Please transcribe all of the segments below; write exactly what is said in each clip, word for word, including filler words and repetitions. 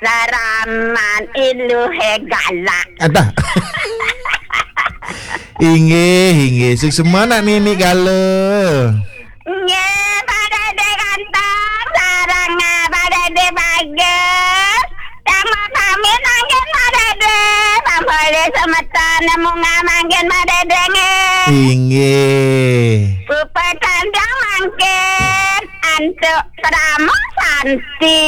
Laraman iluhe galak. Adah. Inggih, inggih. Suksma nak Nini Gala. Nggih, Pak Dede ganteng, sareng, eh, Pak Dede bagus. Yang mau pamit mangkin Pak Dede, pambolih semeton munggah mangkin Pak Dede nggih. Inggih. Puput kandang mangkin, antuk Pramo Santi.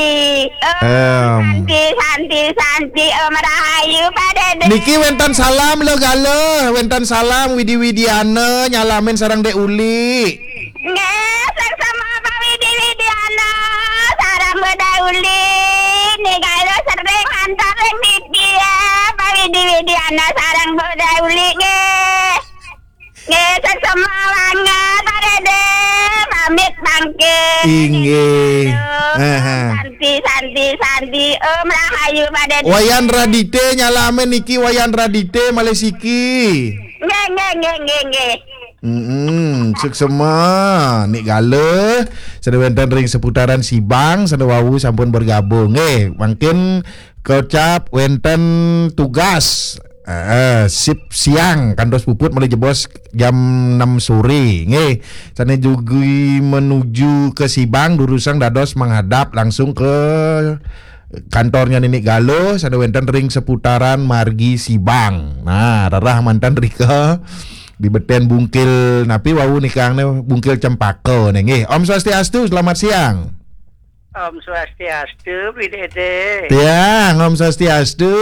Oh, Em. Santi, Santi, Santi. Om Rahayu, Pak Dede. Niki wénten salam lho, Gala. Wénten salam Widi Widiana nyalamin sareng Dek Uli. Nggih, suksma Pak Widi Widiana sareng Bu Dek Uli. Niki Gala sering antar ring niki ya, Pak Widi Widiana sareng Bu Dek Uli nggih. Nggih, suksma banget, Pak Dede. Pamit mangkin. Inggih. Aduh, Aha. Santi, Santi, Santi. Om Rahayu, Pak Dede. Wayan Radite nyalamin niki, Wayan Radite malih siki. Nggih, nggih, nggih, nggih, nggih. Mm-mm, suksma. Nik Gala, sane wénten ring seputaran Sibang, sane wau sampun bergabung. Nggih, mangkin kocap wénten tugas. Eh, sip siang, kantos puput malih jebos jam enam sore. Nggih, sane jugi menuju ke Sibang, durusang dados menghadap langsung ke kantornya Ninik Gala, sane wénten ring seputaran margi Sibang. Nah, rerah manten rika di beten bungkil napi wau nikang ne, bungkil cempaka ne nggih. Om Swastiastu, selamat siang. Om Swastiastu, Bli Dede. Tiang, Om Swastiastu.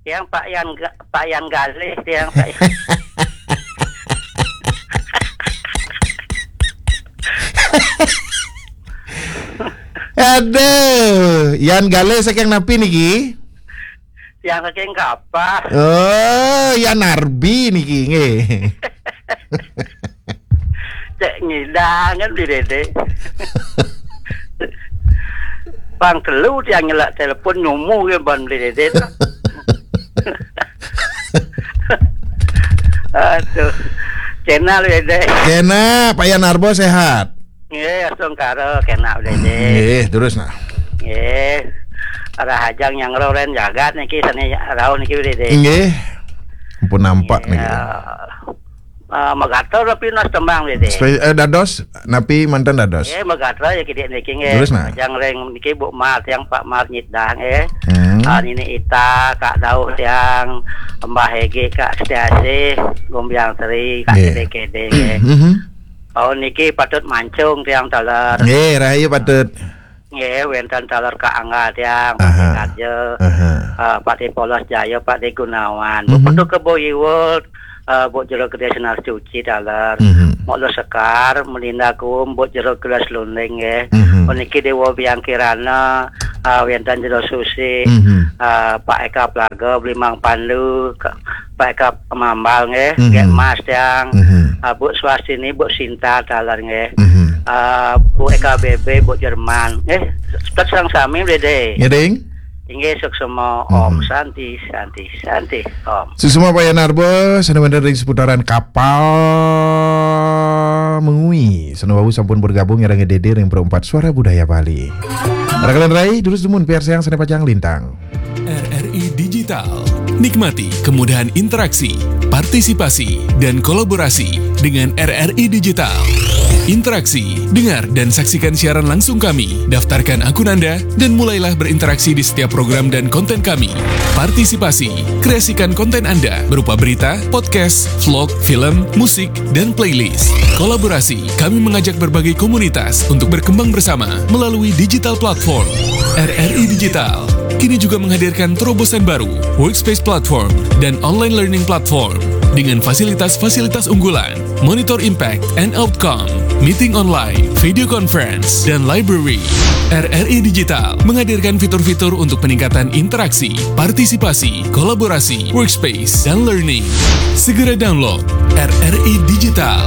Tiang Pak Yan Ga-, Pak Yan Galih, tiang Pak Yan. Aduh, Yan Galih saking napi niki? Tiang saking Kapah. Oh, Yan Arbi niki nggih. Cek ngidangan Bli Dede. Pang telu tiang nyelak telepon nyumu ke ban Bli Dede. Aduh. Channel Bli Dede. Kena, Pak Yan Arbo sehat. Nggih, astungkara kena Bli Dede. Nggih, terus nah. Nggih. Rahajeng nyangro ren jagat niki sane rauh niki Bli Dede. Nggih. Ampun nampak niki. Ah, magatra napi nas tembang Bli Dede. Spe-, eh, dados napi manten dados? Nggih, magatra ya kidik niki nggih. Terus nah. Rahajeng ring niki Bu Mar tiang Pak Mar Nyidang nggih. Hmm. Ah, Nini Ita, Kak Dauh tiang, Mbah Egi, Kak Setiasih, Gumbyang Sri, Kak Nggih. Kede-kede nggih. Mhm. Taun niki patut mancung tiang taler. Nggih, rahayu patut. Nggih, wénten taler Kak Angga tiang, Pak Aha. Dekaja, Aha. eh, Pak Polos Jaya, Pak De Gunawan. Bu Mhm. Putu Kebo Iwul, eh, Bu Jero Gede Senar Suci taler. Mhm. Mok Lo Sekar, Melinda Kum, Bu Jero Gelas Lunding nggih. Mhm. Puniki Dewa Biang Kirana, eh, wénten Jero Susi, Mhm. eh, Pak Eka Plaga, Blimang Pandu, Ka-, Pak Eka Mambal nggih, Mhm. Gek Mas tiang. Mhm. Ah, Bu Swastini, Bu Sinta taler nggih. Mhm. Ah, Bu Eka B B, Bu Jerman nggih. Tet sareng sami Bli Dede. Nggih, Ding. Inggih suksma Om Mhm. Santi, Santi, Santi Om. Suksma Pak Yan Arbo, sane wénten ring seputaran Kapal Mengwi. Sane wau sampun bergabung sareng Dede ring Perempat Suara Budaya Bali. Rakalan rai, durus dumun piarsayang sane pacang lintang. R R I Digital. Nikmati kemudahan interaksi, partisipasi, dan kolaborasi dengan R R I Digital. Interaksi, dengar dan saksikan siaran langsung kami, daftarkan akun Anda, dan mulailah berinteraksi di setiap program dan konten kami. Partisipasi, kreasikan konten Anda berupa berita, podcast, vlog, film, musik, dan playlist. Kolaborasi, kami mengajak berbagai komunitas untuk berkembang bersama melalui digital platform. R R I Digital kini juga menghadirkan terobosan baru, Workspace Platform dan Online Learning Platform, dengan fasilitas-fasilitas unggulan, monitor impact and outcome, meeting online, video conference, dan library. R R I Digital menghadirkan fitur-fitur untuk peningkatan interaksi, partisipasi, kolaborasi, workspace, dan learning. Segera download R R I Digital.